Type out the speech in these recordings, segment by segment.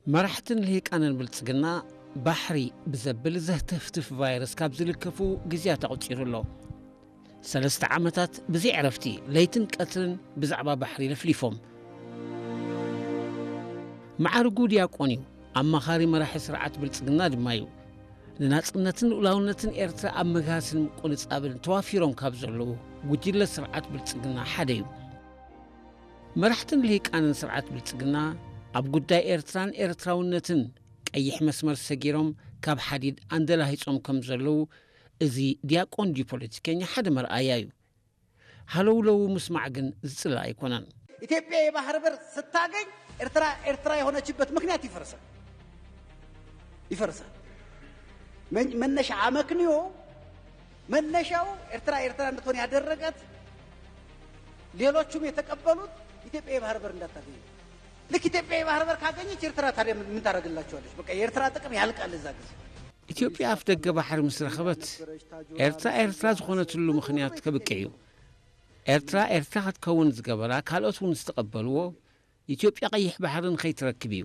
መራሕትን ልሂቃንን ብልጽግና ባሕሪ ብዘብል ዘህተፍትፍ ቫይረስ ካብ ዝልከፉ ግዜያት ኣቑጺሩ ኣሎ። ሰለስተ ዓመታት ብዘይ ዕረፍቲ ለይትን ቀትርን ብዛዕባ ባሕሪ ለፍሊፎም። መዓርጉ ዲያቆን እዩ። ኣማኻሪ መራሒ ስርዓት ብልጽግና ድማ እዩ። ንናጽነትን ልኡላውነትን ኤርትራ ኣብ ምግሃስን ምቁንጻብን ተዋፊሮም ካብ ዘለዉ ጉጅለ ስርዓት ብልጽግና ሓደ እዩ። መራሕትን ልሂቃንን ስርዓት ብልጽግና ኣብ ጉዳይ ኤርትራን ኤርትራውነትን ቀይሕ መስመር ሰጊሮም ካብ ሓዲድ ኣንደላሂጾም ከም ዘለዉ እዚ ዲያቆን ድዩ ፖለቲከኛ ሓደ መርኣያ እዩ። ሃለውለው ምስማዕ ግን ዝጽላእ ኣይኮነን። ኢትዮጵያ የባህር በር ስታገኝ ኤርትራ ኤርትራ የሆነችበት ምክንያት ይፈርሳል ይፈርሳል። መን- መነሻ አመክንዮ መነሻው ኤርትራ ኤርትራ እንድትሆን ያደረጋት ሌሎቹም የተቀበሉት ኢትዮጵያ የባህር በር እንዳታገኝ። ልክ ኢትዮጵያ የባህር በር ካገኘች ኤርትራ ታዲያ ምን ምን ታደርግላቸዋለች? በቃ የኤርትራ ጥቅም ያልቃል እዛ ጊዜ። ኢትዮጵያ ኣፍ ደገ ባሕሪ ምስ ረኸበት ኤርትራ ኤርትራ ዝኾነትሉ ምኽንያት ከብቅዕ እዩ። ኤርትራ ኤርትራ ክትከውን ዝገበራ ካልኦት እውን ዝተቐበልዎ ኢትዮጵያ ቀይሕ ባሕሪ ንኸይትረክብ እዩ።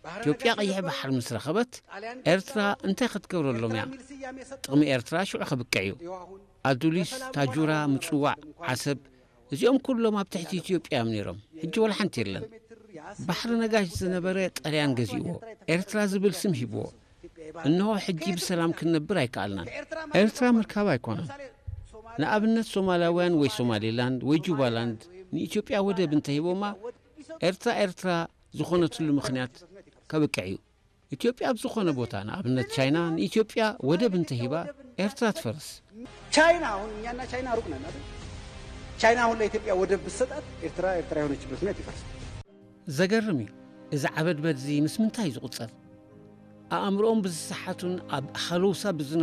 ኢትዮጵያ ቀይሕ ባሕሪ ምስ ረኸበት ኤርትራ እንታይ ክትገብረሎም እያ? ጥቕሚ ኤርትራ ሽዑ ከብቅዕ እዩ። ኣዱሊስ፣ ታጁራ፣ ምጽዋዕ፣ ዓሰብ እዚኦም ኩሎም ኣብ ትሕቲ ኢትዮጵያ እዮም ነይሮም። ሕጂ ወላ ሓንቲ የለን። ባሕሪ ነጋሽ ዝነበረ ጣልያን ገዚእዎ። ኤርትራ ዝብል ስም ሂብዎ። እንሆ ሕጂ ብሰላም ክንነብር ኣይከኣልናን። ኤርትራ ምርካብ ኣይኮነን። ንኣብነት ሶማላውያን ወይ ሶማሌላንድ ወይ ጁባላንድ ንኢትዮጵያ ወደብ እንተሂቦማ ኤርትራ ኤርትራ ዝኾነትሉ ምኽንያት ከብቅዕ እዩ። ኢትዮጵያ ኣብ ዝኾነ ቦታ ንኣብነት ቻይና ንኢትዮጵያ ወደብ እንተሂባ ኤርትራ ትፈርስ። ቻይና አሁን እኛና ቻይና ሩቅ ነን አይደል? ቻይና አሁን ለኢትዮጵያ ወደብ ብትሰጣት ኤርትራ ኤርትራ የሆነችበት ምክንያት ይፈርሳል። ዘገርም እዩ። እዚ ዓበድበድ እዚ ምስ ምንታይ እዩ ዝቑጸር? ኣእምሮኦም ብዝሰሓቱን ኣብ ሃለውሳ ብዝነ